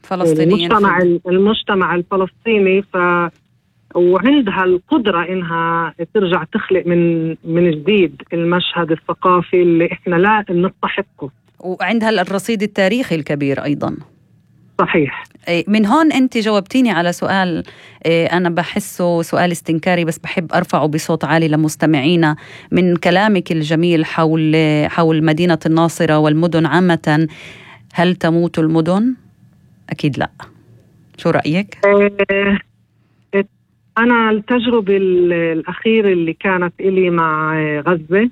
فلسطينيين المجتمع الفلسطيني، وعندها القدرة إنها ترجع تخلق من جديد المشهد الثقافي اللي إحنا لا نستحقه، وعندها الرصيد التاريخي الكبير أيضا. صحيح. من هون أنت جاوبتيني على سؤال أنا بحسه سؤال استنكاري، بس بحب أرفعه بصوت عالي لمستمعينا. من كلامك الجميل حول مدينة الناصرة والمدن عامة، هل تموت المدن؟ أكيد لا. شو رأيك؟ أنا التجربة الأخيرة اللي كانت إلي مع غزة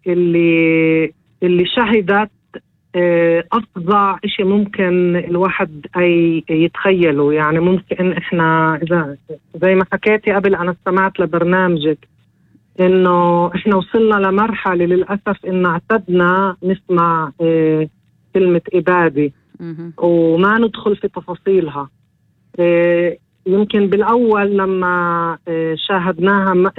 اللي شهدت أفظع إشي ممكن الواحد أي يتخيله. يعني ممكن إحنا إذا زي ما حكيتي قبل، أنا استمعت لبرنامجك، إنه إحنا وصلنا لمرحلة للأسف إن اعتدنا نسمع كلمة إبادة وما ندخل في تفاصيلها. يمكن بالأول لما شاهدناها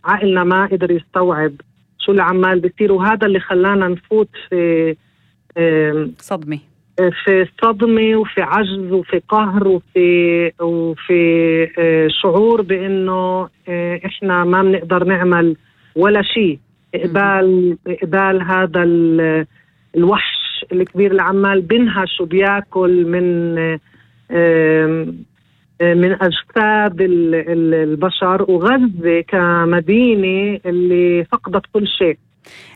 عقلنا ما قدر يستوعب شو اللي عمال بيصير، وهذا اللي خلانا نفوت في صدمة وفي عجز وفي قهر وفي شعور بأنه إحنا ما بنقدر نعمل ولا شيء. إقبال هذا الوحش الكبير اللي عمال بينهش وبياكل من أجساد البشر، وغزة كمدينة اللي فقدت كل شيء.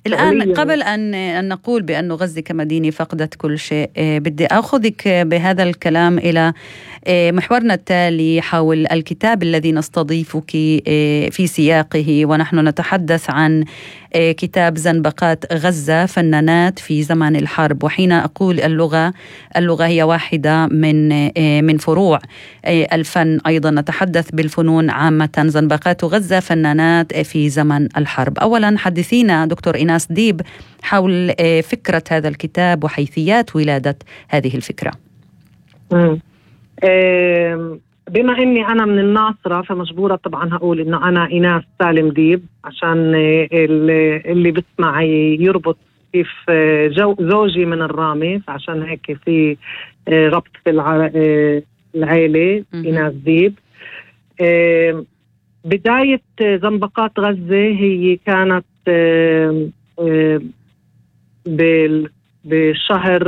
الآن قبل أن نقول بأن غزة كمدينة فقدت كل شيء، بدي أخذك بهذا الكلام إلى محورنا التالي حول الكتاب الذي نستضيفك في سياقه، ونحن نتحدث عن كتاب زنبقات غزة فنانات في زمن الحرب. وحين أقول اللغة هي واحدة من فروع الفن، أيضا نتحدث بالفنون عامة. زنبقات غزة فنانات في زمن الحرب. أولا حدثينا دكتور إيناس ديب حول فكرة هذا الكتاب وحيثيات ولادة هذه الفكرة. بما أني أنا من الناصرة فمجبورة طبعا هقول إنه أنا إيناس سالم ديب، عشان اللي بسمع يربط كيف زوجي من الرامي، فعشان هيك في ربط في العائلة إيناس ديب. بداية زنبقات غزة هي كانت بشهر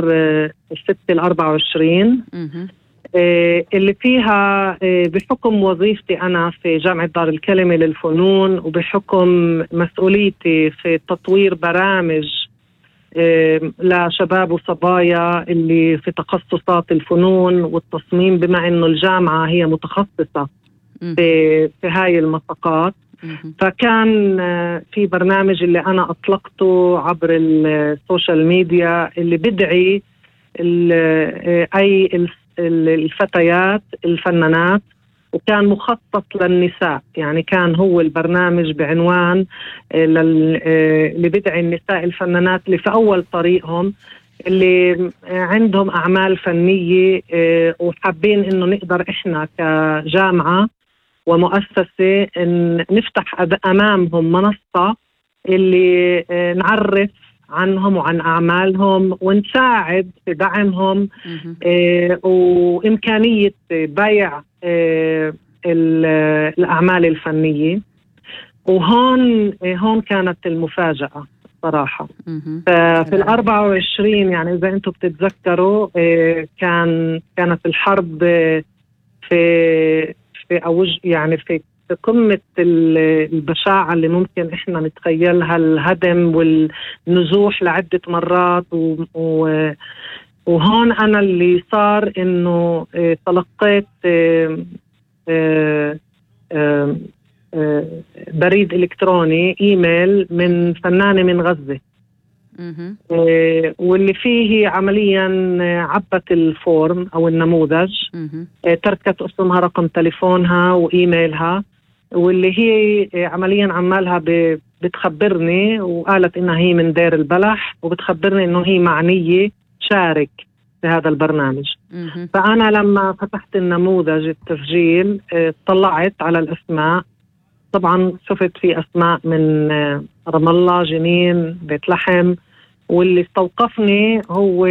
6/24 اللي فيها بحكم وظيفتي أنا في جامعة دار الكلمة للفنون، وبحكم مسؤوليتي في تطوير برامج لشباب وصبايا اللي في تخصصات الفنون والتصميم، بما إنه الجامعة هي متخصصة في هاي المساقات. فكان في برنامج اللي أنا أطلقته عبر السوشيال ميديا اللي بدعي أي الفتيات الفنانات، وكان مخصص للنساء. يعني كان هو البرنامج بعنوان اللي بدعي النساء الفنانات اللي في أول طريقهم، اللي عندهم أعمال فنية وحابين إنه نقدر إحنا كجامعة ومؤسسة إن نفتح أمامهم منصة اللي نعرف عنهم وعن أعمالهم ونساعد في دعمهم وإمكانية بيع الأعمال الفنية. وهون كانت المفاجأة صراحة. ففي 24 يعني إذا أنتم بتتذكروا كانت الحرب في أوج، يعني في قمة البشاعة اللي ممكن إحنا نتخيلها، الهدم والنزوح لعدة مرات. وهون أنا اللي صار إنه تلقيت بريد إلكتروني إيميل من فنانة من غزة، واللي فيه عمليا عبت الفورم أو النموذج، تركت اسمها، رقم تليفونها وإيميلها، واللي هي عمليا عمالها بتخبرني، وقالت إنها هي من دير البلح، وبتخبرني إنه هي معنية شارك في هذا البرنامج. فأنا لما فتحت النموذج التسجيل طلعت على الأسماء، طبعا شفت في أسماء من رام الله، جنين، بيت لحم، واللي استوقفني هو